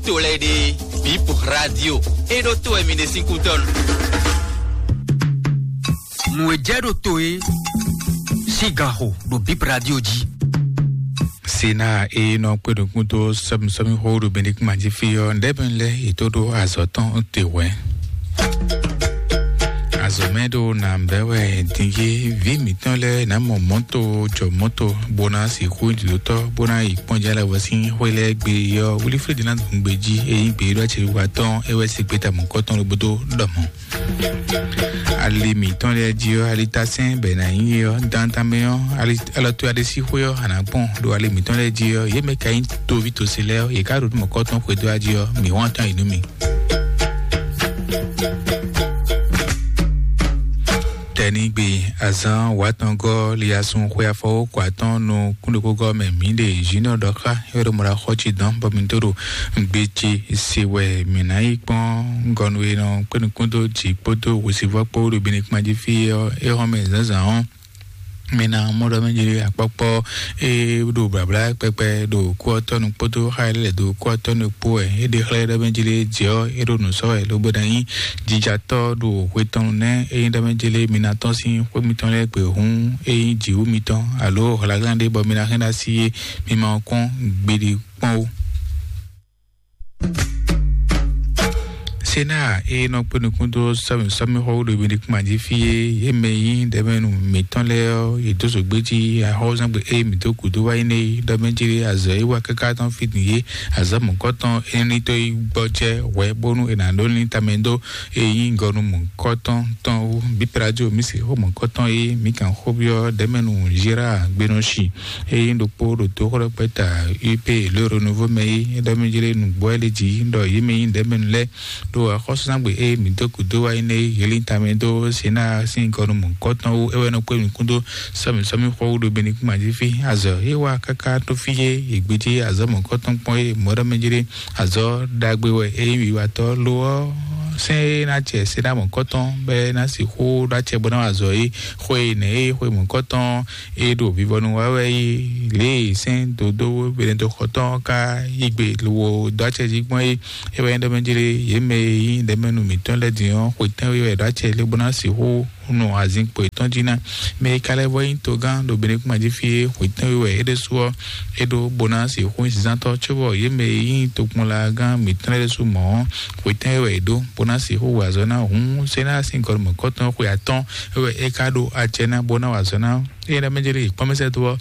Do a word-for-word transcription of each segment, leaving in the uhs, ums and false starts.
To lɛ́ɛ ɖe, Bip Radio, é ɖó to wɛ mi ɖe sín kútɔ́ nu. Nǔ e jɛ ɖo to e sín ganxo ɖo Bip Radio jí. Sena e nɔ kpé nukún dó sɔ́mísɔ́mí xó ɖo Benedikt Mají fí ɔ́, ɖɛ̌bɛ́n lɛ́ɛ yě tó ɖó azɔ̌ tɔn te hwɛ̌. Azɔ̌ mɛ ɖo nǎ bɛ́ wɛ din yé, vǐ mǐtɔn lɛ́ɛ ná mɔ mɔ̌to jɔ mɔ̌to, bó ná sixú jlǒtɔ́, bó ná yi kpɔ́n jɛ lɛ́ wɛ sín xwé lɛ́ɛ gbe ɔ́, Wilifrédi ná dun gbe jí, é nyí gbe e ɖó acɛ wiwa tɔn, é wɛ se gbeta mɔ̌kɔtɔn lobo dó ɖɔ mɔ̌. Ali mǐtɔn lɛ́ɛ jí ɔ́, alitasɛ́n bɛ ná nyí ɔ́, dantanmɛ ɔ́, ali alɔtɔ́ aɖé sí xwé ɔ́, a nǎ gbɔn ɖo ali mǐtɔn lɛ́ɛ jí ɔ́, yě mɛ ka nyí toví tosí lɛ́ɛ ɔ́, yě ká ɖo nǔ mɔ̌kɔtɔn xwedó jí ɔ́, mǐ wɔn atɔ́ yi nú mi. Tɛnigbe azán wǎtɔngɔ́ liasun xwe afɔwó kɔ atɔ́ɔ́n nú kúnɖokógɔ́ mɛ mǐ ɖe Junior ɖɔ xá é ɖo mɔ ɖo axɔ́ cí dɔn bɔ mǐ tó ɖo gbe ce se wɛ mǐ ná yi kpɔ́n gɔnu e nɔ kpé nukún dó jǐ kpódó hwesivɔ́ kpó ɖo Benedikt Mají fí ɔ́ é xɔ́n mɛ zǎnzǎn ɔ́. Mi ná mɔ ɖɔ mɛ jlé akpɔkpɔ e ɖo blabla kpɛkpɛ ɖo kú ɔ́ tɔnu kpódó xa e lɛ́ do kú ɔ́ tɔnu kpó wɛ é ɖe xlɛ́ ɖɔ mɛ jlé jɛ ɔ́ é ɖo nǔ sɔ́ wɛ lobo ná nyí jijatɔ́ ɖo hwe tɔn nɛ́ é nyí ɖɔ mɛ jlé mi ná tɔ́n sín xwé mitɔn lɛ́ɛ gbe hǔn é nyí jǐwú mitɔn alo hlaglán ɖé bɔ mi ná hɛn ɖó así é mi ma kɔn gbeɖé kpɔ́n ó. Sena e nɔ kpé nukún dó sɔmixɔwú ɖo Benedikt Mají fí é, yě mɛ e nyí ɖɛ̌mɛnu mǐtɔn lɛ́ɛ ɔ́, yě dó zǒgbé jí axɔ́zɔ́ngbe e mǐ dó gǔdo wá yi nɛ́ é, ɖɔ mɛ jí azɔ̌ e wá káká tɔn fí din é, azɔ̌ mɔ̌kɔtɔn énɛ́ ní tó yi gbɔjɛ́ hwɛ bónú è nǎ ɖó ní tamɛ dó e nyí gɔnu mɔ̌kɔtɔn tɔn wú. Bípeladio mǐ se xó mɔ̌kɔtɔn e mǐ kan xó byɔ́ ɖɛ̌mɛnu Gérard Gbénɔshi. Eye ɖokpó ɖo toxlɔ́gbɛ́ta U P le Renouveau mɛ é, é ɖɔ mì jlé nǔgbó wɛ lé jí ɖɔ yě mɛ nyí ɖɛ̌mɛnu lɛ́ɛ ɖo axɔ́súzángbe e mǐ dó gǔdo wá é nɛ́ é, yě lin tamɛ dó Sena sín gɔnu mɔ̌hunkɔtɔn wú, é wɛ nɔ kpé mǐ kún dó sɔ́mǐ sɔ́mǐ xɔ wú ɖo Benedikt Mají fí. Azɔ̌ é wa káká tó fí é, yě gbéjé azɔ̌ mɔ̌hunkɔtɔn kpɔ́n é, mɔ̌ ɖɔ mì jlé azɔ̌ ɖagbe wɛ é nyí wiwatɔ́ lo ɔ́, sɛ́n é ná jɛ Sena mɔ̌hunkɔtɔn bɔ é ná sixú ɖó acɛ bó ná wa azɔ̌ é. Xwe nɛ̌ é xwe mɔ̌hunkɔtɔn é ɖo vivɔnu wa wɛ yi lě e sɛ́n dodó Benɛdoxɔtɔn ká yí gbe lobo dó acɛ jí gbɔn é. É wɛ nyí ɖɔ mɛ jlé yě mɛ e nyí ɖɛ̌mɛnu mǐtɔn lɛ́ɛ din ɔ́, xwetɛ́nwe wɛ ɖó acɛ lé bó ná sixú nɔ azinkpo yětɔn jí ná. Mɛ e ka lɛ́ vɔ nyí togán ɖo Benedikt Mají fí é, xwetɛ́nwe wɛ é ɖésú ɔ́ é ɖó bó ná sixú nyí zǐnzántɔ́, cóbɔ yě mɛ e nyí tokpɔnlagán mǐtɔn lɛ́ɛ ɖésú mɔ̌ ɔ́, xwetɛ́nwe wɛ é ɖó bó ná sixú wa azɔ̌ ná hǔn Sena sín gɔnumɔ̌kɔtɔn xwe atɔ́ɔ́n é wɛ é ka ɖó acɛ ná bó ná wa azɔ̌ ná. Eye ɖɔ mɛ jlé kpɔ́n mɛ sɛ́ dó ɔ́,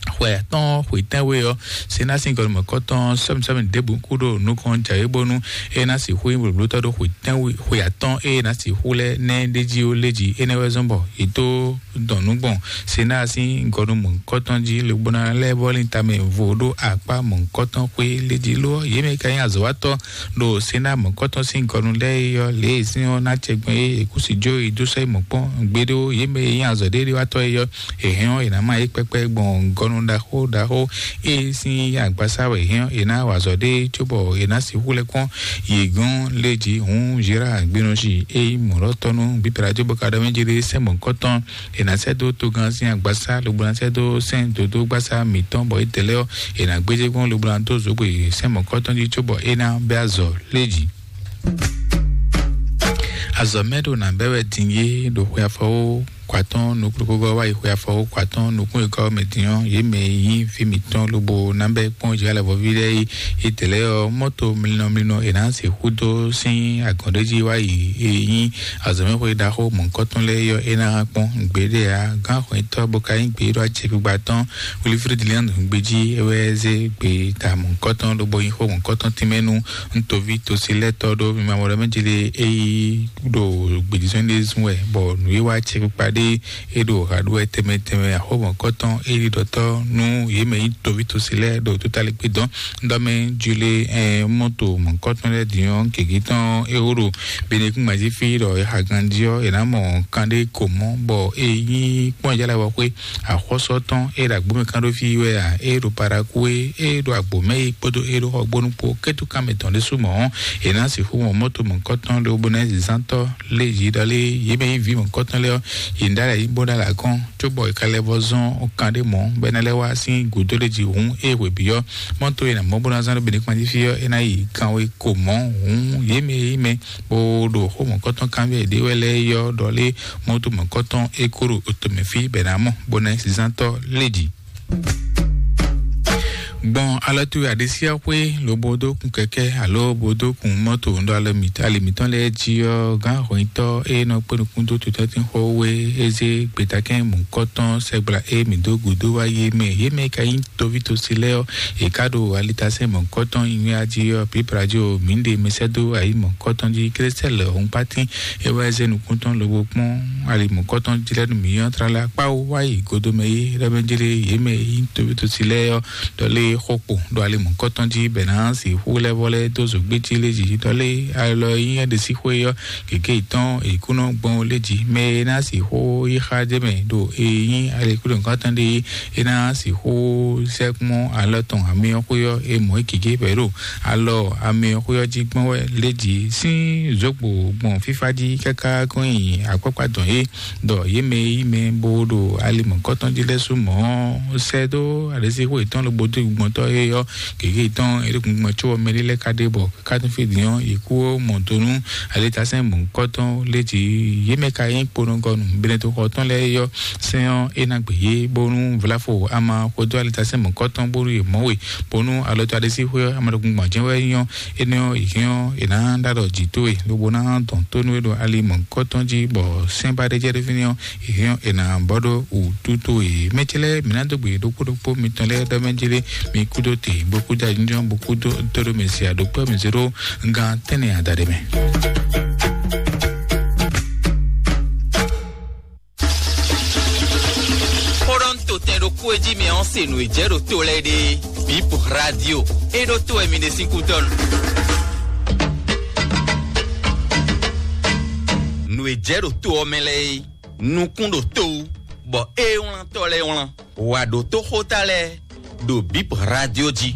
xwe atɔ́ɔ́n xwe tɛ́nwe ɔ́, Sena sín gɔnumɔ̌kɔtɔn sɔ́mi sɔ́mi ɖěbǔ kú ɖo nukɔn jǎwe bónú é ná sixú nyí blǒblótɔ́ ɖó xwe tɛ́nwe xwe atɔ́ɔ́n e é ná sixú lɛ́ nɛ́ ɖé jí ó lé jí. Énɛ́ wɛ zɔ́n bɔ yě dó dɔn nǔ gbɔn Sena sín gɔnumɔ̌kɔtɔn jí, lobo ná lɛ́ vɔ́ lin tamɛ vo ɖó akpá mɔ̌kɔtɔn xwé lé jí. Lo ɔ́, yě mɛ ka nyí azɔ̌watɔ́ ɖo Sena mɔ̌kɔtɔn sín gɔnu lɛ́ɛ é ɔ́, lě e sín ɔ́ ná cɛ gbɔn é è kú si jó yi dó sɔ́ yi mɔ̌ kpɔ́n. Gbeɖé ó, yě mɛ e nyí azɔ̌ ɖé ɖé wá tɔ́ é ɔ́, è hɛn ɔ́, è nǎ má yě kpɛ́kpɛ́ gbɔn gɔnu ɖaxó ɖaxó e sín agbasá wɛ è hɛn ɔ́, è ná wa azɔ̌ ɖé cóbɔ è nǎ sixú lɛ́ kpɔ́n yě gɔ́n lé jí. Hǔn Zera Gbénɔshi e nyí mɔ̌ɖɔtɔ́ nú Bíbélà jó bɔ ka ɖɔ mɛ jí ɖé sɛ́n mɔ̌kɔtɔn, è nǎ sɛ́ dó togán sín agbasá, lobo ná sɛ́ dó sɛ́n dodó gbasá mǐtɔn, bɔ étɛ́ lɛ́ɛ ɔ́, è nǎ gbéjé gbɔn lobo ná dó zǒgbè sɛ́n mɔ̌kɔtɔn jí cóbɔ é ná bɛ́ azɔ̌ lé jí. Azɔ̌ mɛ ɖo nǎ bɛ́ wɛ din yé ɖo xwe afɔwó kɔ atɔ́ɔ́n nukúnɖokpógɔ́ wá yi xwe afɔwó kɔ atɔ́ɔ́n nukún e gɔ́ mɛ din ɔ́, yě mɛ e nyí fí mǐtɔn lobo ná bɛ́ kpɔ́n Izlayɛ́li vɔví lɛ́ɛ é. Étɛ́ lɛ́ɛ ɔ́, mɔ́to mlinɔ mlinɔ è nǎ sixú dó sín agɔ̌n ɖé jí wá yi e nyí azɔ̌mɛxwé ɖaxó mɔ̌hunkɔtɔn lɛ́ɛ é ɔ́, é ná hán kpɔ́n gbeɖé ǎ. Gǎn xwɛ̌ntɔ́ bó ka nyí gběɖɔ acɛkpikpa tɔn Wilifrédi Lɛ́ɛn gbejí é wɛ zé gbe ta mɔ̌hunkɔtɔn lobo nyí xó mɔ̌hunkɔtɔn tínmɛ nú un toví tosi lɛ́ɛ tɔ́ ɖó mi ma mɔ ɖɔ mɛ jlé é yi ɖo gbějízɔ́n ɖé zun wɛ, bɔ nǔwiwa ce kpikpa ɖé é ɖo ha ɖó wɛ tɛnmɛ tɛnmɛ axɔ́mɔkɔtɔn é ɖi ɖɔtɔ́ nú yě mɛ nyí toví tosi lɛ́ɛ ɖo tótalíkpé dɔn. Ɖɔ mɛ jlé ɛ mɔto mɔ̌kɔtɔn lɛ́ɛ din ɔ́, gěgé tɔn é wó ɖo Benekún mají fí ɖɔ é xa ganjí ɔ́, è nǎ mɔ kan ɖé ko mɔ, bɔ é nyí kpɔ́n jálá wɔ xwé axɔ́sɔ tɔn é ɖo agbǒmɛ kán ɖó fí wɛ a, é ɖo Parakúé, é ɖo agbǒmɛ é kpódó é ɖo xɔgbónu kpó kɛ́túkánmɛ tɔn ɖésú mɔ̌ ɔ́, è nǎ sixú mɔ mɔto mɔ̌kɔtɔn lobo ná zǐnzántɔ́ lé yě ɖɔ lé yě mɛ nyí vǐ mɔ̌kɔtɔn lɛ́ɛ ɔ́, yě Ìdálẹ̀ yìí bó dá là kɔn, cóbɔ ìkàlẹ̀ vɔ zɔn ọkàn ɖé mɔ̌, bɛ́ ná lɛ́ wá sín gǔdo ɖé jí hǔn é hwebǐ ɔ́, mɔ́ tó e nǎ mɔ bó ná zán ɖó Benin kpán jí fí ɔ́, é ná yi kanwe ko mɔ̌ hǔn yě mɛ e yí mɛ, bó ɖo xó mɔ̌kɔtɔn kanbyɔ́ yěɖée wɛ lɛ́ɛ yɔ́ ɖɔ lé mɔ́ tó mɔ̌kɔtɔn é kó ɖo otomɛ fí bɛ́ ná mɔ bó ná nyí zízántɔ́ lé jí. Gbɔn alɔ towe aɖisíaxwé lobo dó kun kɛkɛ alo bo dó kun mɔto ɖo alɔ mǐtɔn ali mǐtɔn lɛ́ɛ jí ɔ́, gán hɔnyitɔ́ e nɔ kpé nukún dó tutɔ́tín xó wé, é zé gbetakɛn mɔ̌kɔtɔn sɛgbla e mǐ dó gǔdo wá yé mɛ. Yé mɛ ka nyí toví tosi lɛ́ɛ ɔ́, è ká ɖo alitasɛn mɔ̌kɔtɔn nywɛ́ jí ɔ́, pǐpla jí o mǐ ɖe mɛ sɛ́ dó ayi mɔ̌kɔtɔn jí. Klɛ́sɛ́lɛ hɔnkpátín é wá zé nukún tɔn lobo kpɔ́n ali mɔ̌kɔtɔn jí lɛ́ɛ nú mǐ ɔ́ tlala kpáwú wá yi godomɛ yé ɖɔ mɛ jlé yě mɛ e nyí toví tosi lɛ́ɛ ɔ́, ɖɔ lé xó kpo ɖo ali mɔ̌kɔtɔn jí bɛ ná sixú lɛ́ vɔ lɛ́ dó zǒgbé jí lé jí ɖɔ lé alɔ e nyí ɛɖe síxwé ɔ́, gěgé yětɔn è kú nɔ gbɔn lé jí. Mɛ e ná sixú yi xa jɛ mɛ ɖo e nyí ali kúɖo nukɔntɔn ɖé é ná sixú sɛkpɔ́n alɔ tɔn amyɔxwé ɔ́, e mɔ̌ é gěgé bɛ̌ ɖo alɔ amyɔxwé ɔ́ jí gbɔn wɛ lé jí sín zǒgbo gbɔn fífá jí káká kɔn nyi akpákpá dɔn é. Ɖɔ yě mɛ e yí mɛ bó ɖo ali mɔ̌kɔtɔn jí lɛ́ɛ sú mɔ̌ sɛ́ dó alěsíxwé yětɔn lobo dó gbɔntɔ́ é ɔ́, gěgé yětɔn é ɖo gbɔn có ɔ́ mɛ ɖé lɛ́ɛ ka ɖe bɔ kátunfí din ɔ́, yě kú mɔ do nú alitasɛn mɔ̌kɔtɔn lé jí. Yě mɛ ka nyí kponɔgɔnu Benɛtoxɔ tɔn lɛ́ɛ é ɔ́, sɛn ɔ́ é ná gbe yě bónú Vlafo ama xwedó alitasɛn mɔ̌kɔtɔn bónú yě mɔ we, bónú alɔtɔ́ alésíxwé ɔ́ ama ɖokun gbɔn jɛ́n wɛ nyí ɔ́, énɛ́ ɔ́, yě hɛn ɔ́, è nǎ ɖo alɔ jǐ towe lobo ná dɔn tó nú we ɖo ali mɔ̌kɔtɔn jí, bɔ sɛ́n ba ɖé jɛ ɖó fínɛ́ ɔ́, yě hɛn ɔ́, è nǎ bɔ ɖó wǔtú towe. Mɛ ce lɛ́ɛ, mǐ ná dó gbe ɖokpó ɖokpó mitɔn lɛ́ɛ ɖɔ mɛ jlé, mi kúdó te, bó kúdó ajínjɔ́n, bó kúdó tóɖó mɛ si aɖokpɔ́ mǐ zé ɖó gán tɛ́nnɛ adaɖé mɛ. Xó ɖɔ un to tɛn ɖokpó e jí mɛ ɔ́ se nǔ e jɛ ɖo to lɛ́ɛ ɖe. Bip Radio. É ɖó to wɛ mi ɖe sín kútɔ́ nu. Nǔ e jɛ ɖo to ɔ́ mɛ lɛ́ɛ é, nukún ɖo to wú, bɔ é wlán tɔ́ lɛ́ɛ wlán. Wǎ ɖó tó xóta lɛ́ɛ ɖo Bip Radio jí.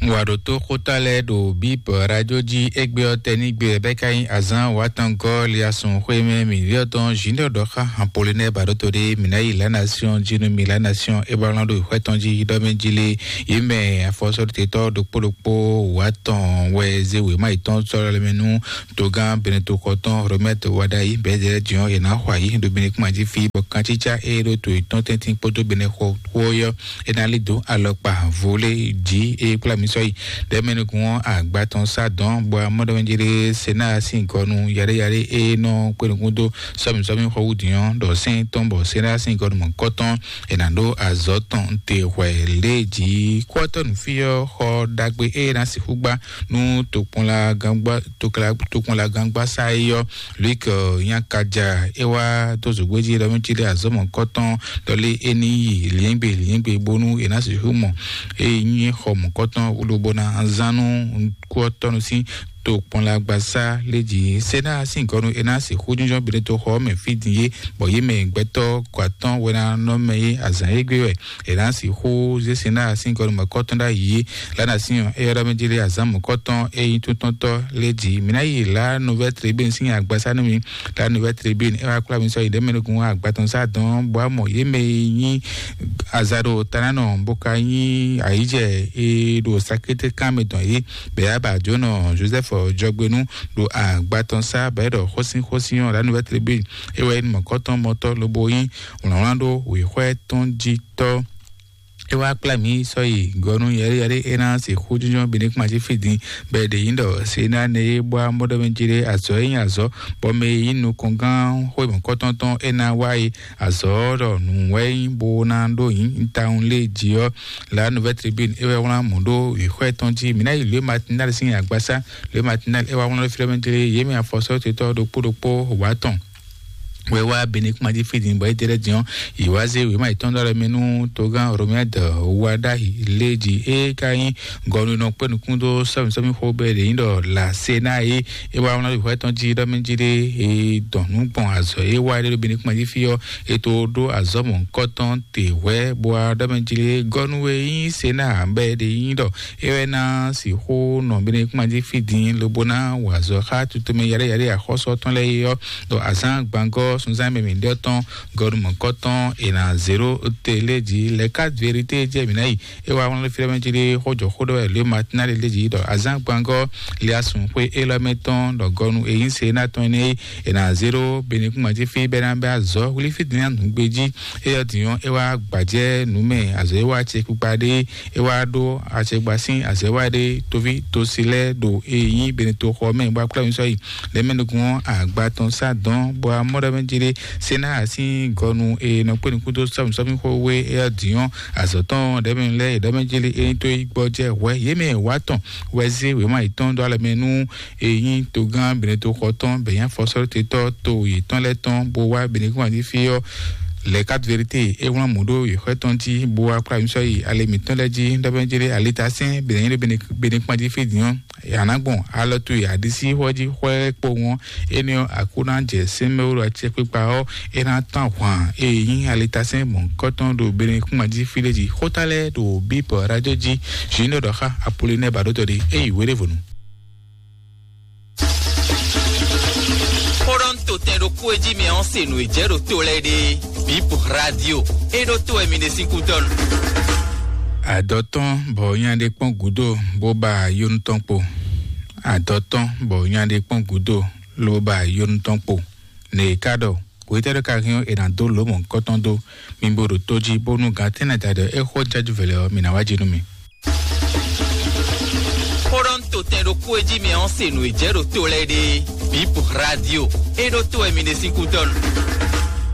Wǎ ɖó tó xóta lɛ́ɛ ɖo Bip Radio jí. Égbé ɔ́, tɛnígbe ɔ́ bɛ́ ka nyí azǎn wǎtɔngɔ́ liasɔn xwé mɛ mǐɖíɔ́ tɔn Junior ɖɔ xá Apollinaire Baɖóto ɖé, mǐ ná yi La Nation jí nú mi. La Nation é ba wlán ɖo xwɛ tɔn jí ɖɔ mɛ jí lé. Yě mɛ afɔsɔ́ɖótetɔ́ ɖokpó ɖokpó wǎtɔn wɛ zé wěma yětɔn sɔ́ lɛ́ mɛ nú togán Benɛtoxɔ tɔn Romɛt Wadayi bɛ́ jɛ jǐɔn è nǎ xɔ ayǐ ɖo Benɛkúma jí fí, bɔ kancícá e ɖo to yětɔn tɛ́ntin kpódó Benɛxɔ xó ɔ́, é ná lí dó alɔkpa vo lé jí e kplá mi sɔ́ yi. Ɖɛ̌mɛnukún ɔ́, agba tɔn sá dɔ̌n, bɔ amɔ́ɖɔmɛjélé Senáa sín gɔnu yaɖéyaɖé e nɔ kpé nukún dó sɔ́mǐsɔ́mí xɔ wú din ɔ́, ɖɔ sɛ́n tɔn bɔ Senáa sín gɔnu mɔ̌kɔtɔn è nǎ ɖó azɔ̌ tɔn te hwɛ lě jí. Kúɔtɔ́ nǔfí ɔ́ xɔ ɖagbe e ná sixú gbá nú tokpɔnlagangba tokpɔnlagangba sá é ɔ́, Luik Nyakaja é wá dó zǒgbéjí ɖɔ mí cí ɖe azɔ̌ mɔ̌kɔtɔn ɖɔ lé é ní yi lǐnyɛ́gbe lǐnyɛ́gbe bónú è nǎ sixú mɔ é nyí xɔ mɔ̌kɔtɔn wúlobó ná zán nú kúɔtɔ́nu sín tokpɔnlagbasá lé jí. Senáa sín gɔnu é ná sixú jínjɔ́n Beneto xɔ ɔ́ mɛ fí din é, bɔ yě mɛ gbɛtɔ́ kɔ atɔ́ wɛ ná nɔ mɛ é azǎn é gbé wɛ è nǎ sixú zé Senáa sín gɔnu mɔ̌kɔtɔn ɖ'ayǐ é. Lánàá sín ɔ́, é ylɔ́ mɛ jí lé azǎn mɔ̌kɔtɔn é nyí túntɔ́ntɔ́ lé jí. Mǐ ná yi La Nouvelle Tribune sín agbasá nú mi. La Nouvelle Tribune é wá kplá mi sɔ́ yi ɖɛ̌mɛnukún agbatɔnsá dɔn bɔ amɔ yě mɛ e nyí azǎɖo tanánɔ bó ka nyí ayǐjɛ e ɖo sakété kan mɛ dɔn é. Bɛ̌ abǎ jónɔ Joseph Jɔgbénu ɖo agbatɔnsá bɛ̌ ɖɔ xósínxósín ɔ́, La Nouvelle Tribune é wɛ nyí mɔ̌kɔtɔn mɔtɔ́ lobo nyí wlǎnwlán ɖó wěxwɛ́ tɔn jí tɔ́. É wá kplá mǐ sɔ́ yi gɔ̌nu yɛɖéyɛɖé é ná sixú jínjɔ́n Benin kpán jí fí din, bɔ è ɖe nyǐ ɖɔ Senáa nɛ é bwá mɔɖɔmɛ jí ɖé azɔ̌ e nyí azɔ̌, bɔ mɛ e nyí nukɔngán xwé mɔ̌kɔtɔn tɔn é ná wá yi azɔ̌ ɖɔ nǔ wɛ é nyí bó ná ɖó nyǐ tawun lé jí ɔ́. La Nouvelle Tribune é wɛ wlán mɔ̌ ɖó wěxwɛ́ tɔn jí. Mǐ ná yi Lě Matinal sín agbasá. Lě Matinal é wá wlán ɖó fí ɖɔ mɛ jlé yě mɛ afɔsɔ́tetɔ́ ɖokpó ɖokpó wǎ tɔn wɛ wá Benin kpán jí fí din bɔ é ɖe lɛ́ din ɔ́, yě wá zé wěma yětɔn ɖó alɔ mɛ nú togán Romuald Wadagni lé jí. É ka nyí gɔnunɔ kpé nukún dó sɔ́mǐsɔ́mí xó bɛ́ ɖě nyí ɖɔ La Senáa é, é wá wlán ɖo hwɛ tɔn jí ɖɔ mɛ jí ɖé é dɔn nǔ gbɔn azɔ̌ é wá ɖé ɖo Benin kpán jí fí ɔ́, é tó ɖó azɔ̌ mɔ̌hunkɔtɔn te hwɛ̌ bó wá ɖɔ mɛ jí ɖé gɔnu e nyí Senáa bɛ́ ɖě nyí ɖɔ é wɛ ná sixú nɔ Benin kpán jí fí din lobo ná wa azɔ̌ xá tutomɛ yaɖéyaɖé axɔ́sú tɔn lɛ́ɛ é ɔ́, ɖo azǎn gbangɔ́ Sunzan mɛ mi ɖɔ tɔn gɔnu mɔkɔ tɔn ena zero télé dzi lɛ quatre vérité jɛ mi na yi. E wa wọn fi mɛ jiri xɔ jɔ xɔ dɔ lé matinali lé dzi dɔ azan gbangɔ lé asun xwe elɔ mɛ tɔn dɔ gɔnu eyin se na tɔn ne ena zero bene kuma ji fi bɛ na bɛ azɔ wuli fi dina nugbe ji. E yɔ dinyɔ e wa gbajɛ numɛ azɔ e wa tse kpikpa ɖe e wa ɖo atsɛgba sín azɛ wa ɖe tovi tosi lɛ ɖo eyin bene to xɔ mɛ bɔ akplɔ mi sɔ yi lɛ mɛ nukun agba tɔn sa dɔn bɔ amɔ ɖɔ mɛ jiri sena asi gɔnu e nɔ kpe nukun to sɔmi sɔmi xo we e dinyɔ azɔ tɔn ɖɛ mɛ lɛ ɖɔ mɛ jiri e to yi gbɔ jɛ wɛ ye mɛ wa tɔn wɛ ze wema yi tɔn dɔ alɛ mɛ nu eyin togán bene to xɔ tɔn bɛ nya fɔsɔrɔ te tɔ to yi tɔn lɛ tɔn bo wa bene kún ati fi yɔ lɛ quatre vérité e wlán mɔ ɖo yi xɔ tɔn ti bo wa kplá mi sɔ yi ale mitɔn lɛ ji ɖɔ mɛ jiri alita sɛn bene bene kún ati fi dinyɔ yàrá gbɔn alɔ to yi adisi xɔ ji xɔ kpowun. Énɛ́ ɔ́, Aklúnɔ jɛ sɛ́nmɛwú ɖo acɛkpikpa ɔ́, é ná tɔ́n ahwan e nyí alitasɛn mɔ̌hunkɔtɔn ɖo Benekúnma jí fí ɖé jí. Xóta lɛ́ɛ ɖo bíbɔ rájɔ jí. Zǐn ɖɔ ɖɔ xá Apolinɛ́ɛ baɖótɔ́ ɖé, é yi wéɖévɔnu. Xó ɖɔ un to tɛn ɖokpó e jí mi ɔ́ se nǔ e jɛ ɖo to lɛ́ɛ ɖe. Bíbɔ rádio, é ɖó to wɛ mi ɖe sín kútɔ́ nu. Adɔ tɔn bɔ nya ɖé kpɔ́n gǔdo bó ba yónú tɔn kpo. Adɔ tɔn bɔ nya ɖé kpɔ́n gǔdo ló ba yónú tɔn kpo. Nɛ ka ɖɔ, hwetɛ́ ɖɔ ka hɛn ɔ́, è nǎ dó lǒ mɔ̌hunkɔtɔn dó. Mi bo ɖo tó jí, bónú gǎn tɛ́nnɛ da ɖɔ é xó jájú vɛlɛ ɔ́, mi ná wá jí nú mì. Xó ɖɔ un to tɛn ɖokpó e jí mi ɔ́ se nǔ e jɛ ɖo to lɛ́ɛ ɖe. Bíbɔ rádio, é ɖó to wɛ mi ɖe sín kútɔ́ nu.